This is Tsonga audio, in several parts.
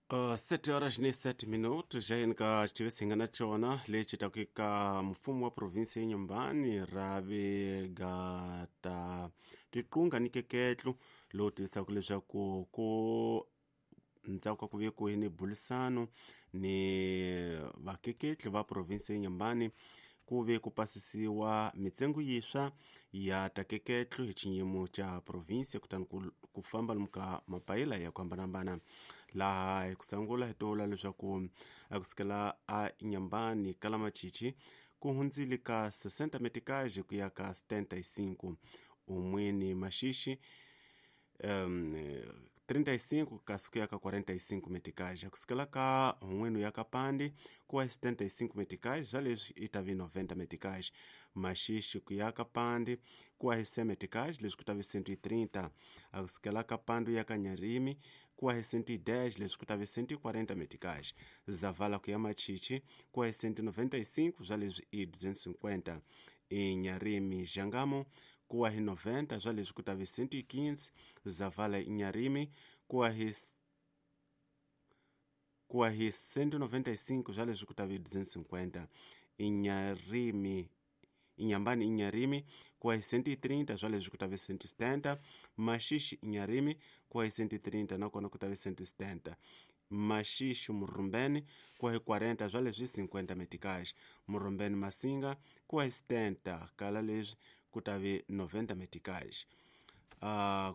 7 horas ni 7 minutos já xitivisi hi nga na xona lexi taka eka mfumo wa provinsi ya Inhambane rhavi ta tiqunga ni keketlu lowu tivisaka leswaku ku ndzhaku ka ku ve ku ni bulisano ni vakeketli va provinsi ya Inhambane ku ve ku pasisiwa mitsengo yintshwa ya takeketlu hi xiyimo xa provinsi kutani ku famba lomu ka mapayila ya ku hambanahambana. Laha hi ku sungula hi tivula leswaku a kusukela a Inhambane ka Lamachichi ku hundzile ka 60 meticais ku ya ka 75, Umwini Maxixi 35 kasi ku ya ka 45 meticais, kusukela ka Hun'wenu ya ka Pande ku ya 75 meticais, swa leswi i ta vi 90 meticais, Maxixi ku ya ka Pande ku ya 100 meticais, leswi ku ta vi 130, a kusukela ka Pande ya ka Nyarimi ku ya 110, leswi ku ta vi 140 meticais, Zavala ku ya Machichi ku ya 195, swa leswi i 250, Inyarimi Jangamo ku wa hi 90, swa leswi ku ta vi 115, Zavala Inyarimi ku wa hi 195, swa leswi ku ta vi 250, Inyarimi Inhambane Inharime ku wa hi 130, swa leswi ku ta vi 170, Maxixi Inharime ku wa hi 130 nakona ku ta vi 170, Maxixi Murumbeni ku wa hi 40, swa leswi 50 meticais, Murumbeni Masinga ku wa hi 70, kala leswi ku ta vi 90 meticais.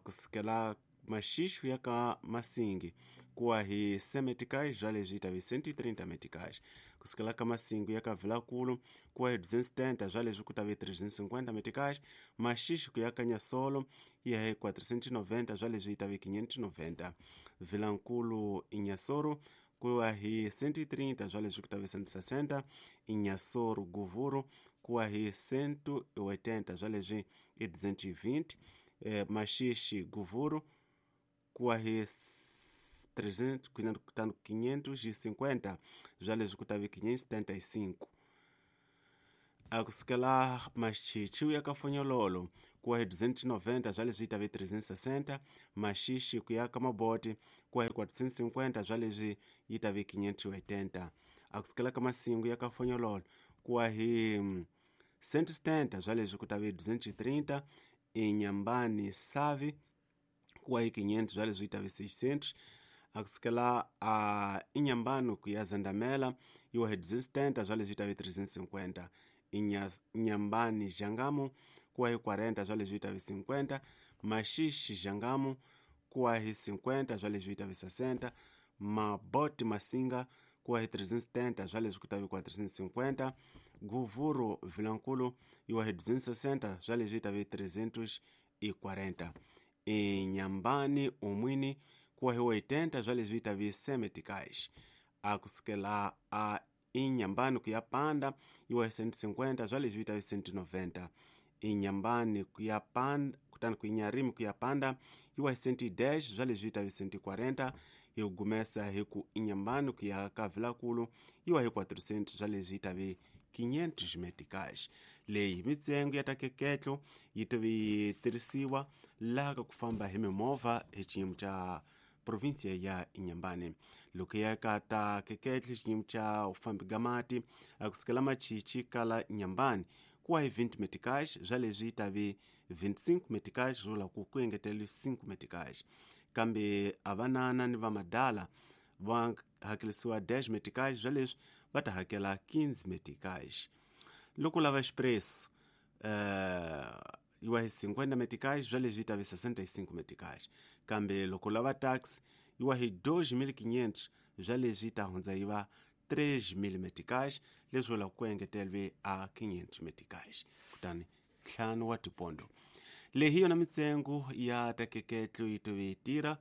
Kusukela Maxixi ya ka Masingi ku wa hi 100 meticais, swa leswi yi ta vi 130 meticais. Kusukela ka Masingi ya ka Vilankulu ku wa hi 270, swa leswi ku ta vi 350 meticais. Maxixi ku ya ka Nyasolo ya hi 490, swa leswi yi ta vi 590. Vilankulu Inyasoro ku wa hi 130, swa leswi ku ta vi 160. Inyasoro Guvuru ku wa hi 180, swa leswi i 220. Maxixi Guvuru ku wa hi 550, swa leswi ku ta vi 575. A kusukela Machichi ya ka Fonyololo ku wa hi 290, swa leswi yi ta vi 360. Maxixi ku ya ka Maboti ku wa hi 450, swa leswi yi ta vi 580. A kusukela ka Masingu ya ka Fonyololo ku wa hi 170, swa leswi ku ta vi 230. Inhambane Savi ku wa hi 500, swa leswi yi ta vi 600. A kusukela a Inhambane ku ya Zandamela yi wa hi 270, swa leswi yi ta vi 350. Inhambane Jangamo ku wa hi 40, swa leswi yi ta vi 50. Maxixi Jangamo ku wa hi 50, swa leswi yi ta vi 60. Maboti Masinga ku wa hi 370, swa leswi ku ta vi 450. Guvuru Vilankulu yi wa hi 260, swa leswi yi ta vi 340. Inhambane Umwini ku wa hi 80, swa leswi yi ta vi 100 meticais. A kusukela a Inhambane ku ya Panda yi wa hi 150, swa leswi yi ta vi 190. Inhambane ku ya Panda kutani ku Inharime ku ya Panda yi wa hi 110, swa leswi yi ta vi 140. Hi gumesa hi ku Inhambane ku ya ka Vilankulu yi wa hi 400, swa leswi yi ta vi 500 meticais. Leyi mitsengo ya takeketlo yi ta vi yi tirhisiwa laha ka ku famba hi mimovha hi xiyimo xa provinsia ya Inhambane. Loko ya ka ta keketlo xiyimo xa ufambi ga mati a kusukela Machichi kala Inhambane ku wa hi 20 meticais, swa leswi yi ta vi 25 meticais, swi vula ku engeteliwe 5 meticais. Kambe a vanana ni vamadala va hakelisiwa 10 meticais, swa leswi va ta hakela 15 meticais. Loko lava expresso yi wa hi 50 meticais, swa leswi yi ta vi 65 meticais. Kambe loko lava taxi yi wa hi 2500, swa leswi yi ta hundza yi va 3000 meticais, leswi vulaka ku engeteriwe a 500 meticais, kutani 5 wa tipondo. Leyi hi yona mitsengo ya takeketlo yi tove yi tirha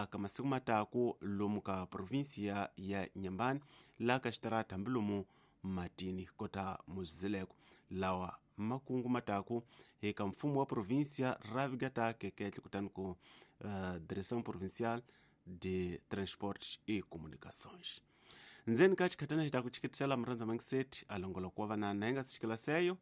ka masiku mataku lomu ka provinsia ya Inhambane laha ka xitarata hambi lomu matini kota muzileko lawa makungu mataku eka mfumo wa provinsia rhavi ga ta keketlo kutani ku Direção Provincial de Transportes e Comunicações. Ndzeni ka xikhatana xi ta ku chikitisela murhandza mangiseti a longoloko wa vanana hi nga si xikela seyo.